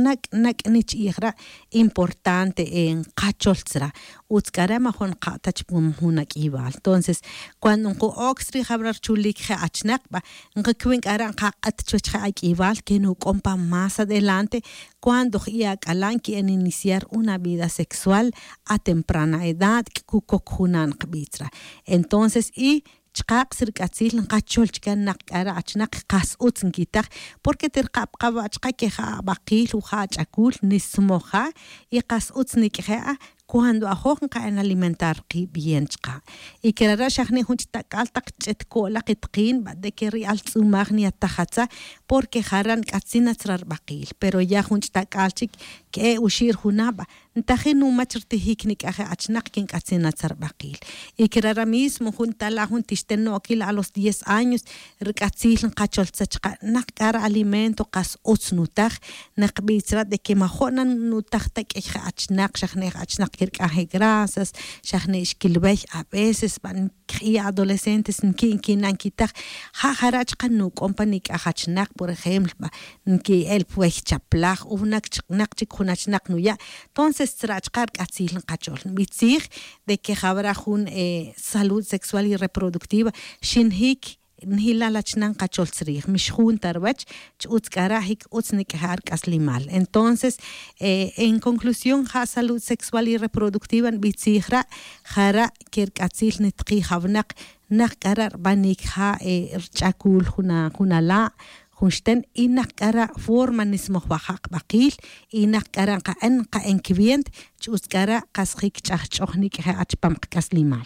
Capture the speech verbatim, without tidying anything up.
Nak' nak' nich'ij ra' importante nqachol tzra'. Utz k'a re' majun nqa' ta chupam jun ak'ib'al. Entonces, cuando nqo'ok tzri' jab'ra' rchulik je' achnaq b'a, nqakwin k'a re' nqaq'at chuwech je' ak'ib'al que nuk'om pa más adelante, cuando jb'i' ak'ala' nki'an iniciar una vida sexual a temprana edad, k'u kok juna' nqb'i' tzra'. Entonces y chqaq' si rk'atzil nqachol chke naq k'a re' achnaq qas utz nkitaj, porque tirqab' qa b'a' chqe que ja ab'aqil o ja ach'akul nismoj ja, y qas utz nik'je' a cuando ajoj nqa'an alimentar qib' bien chqa'. Y kerara' xa jni' jun ch'tak'al taq ch'et ko'laq itqin b'a de que ri altz'umaj niyataj atza, porque jara' nk'atzin atz ra rb'aqil. Pero ya jun ch'tak'al chik ke'e' uxi' ri junab' ntajin numach rtijik nik'aje' achnaq que nk'atzin atz rb'aqil. Y kerara' mismo jun tala' jun tixten no'okil a los diez años, rk'atzil nqachol tzra' chqa' naq k'a ri alimento qas utz nutaj, naqb'i' tzra' de que majo' na nutaj ta k'ey je' achnaq, xa jni' je' achnaq kirk'an je' grasas, xa jni' xkilb'ey. A veces b'a' kj'i' adolescentes nki' nkina' nkitaj ja jara' chqa' nuk'om pa nik'aj achnaq, por ejemplo b'a' nki'el pwey chaplaj o naq chik jun achnaq nuya'. Entonces tzra' chqa' rk'atzil nqachol nb'i' tzij de que jab'ra' jun salud sexual y reproductiva xinjik njilal achnan qachol tzrij mixjun ta rwech. Ch'utz k'a ra' jik utz nik'aje' ar k'aslimal. Entonces en conclusión ja salud sexual y reproductiva nb'i' tzij ra', jara' que rk'atzil nitqij awinaq naq k'a ra' rb'anik ja rch'akul jun ala' jun xten, y naq k'a ra' forma nismojwaja' qb'aqil, y naq k'a ra' nqa'an nqa'an kib'ient. Ch'utz k'a ra' qas jik ch'ajch'oj nik'aje' ar chupam qk'aslimal.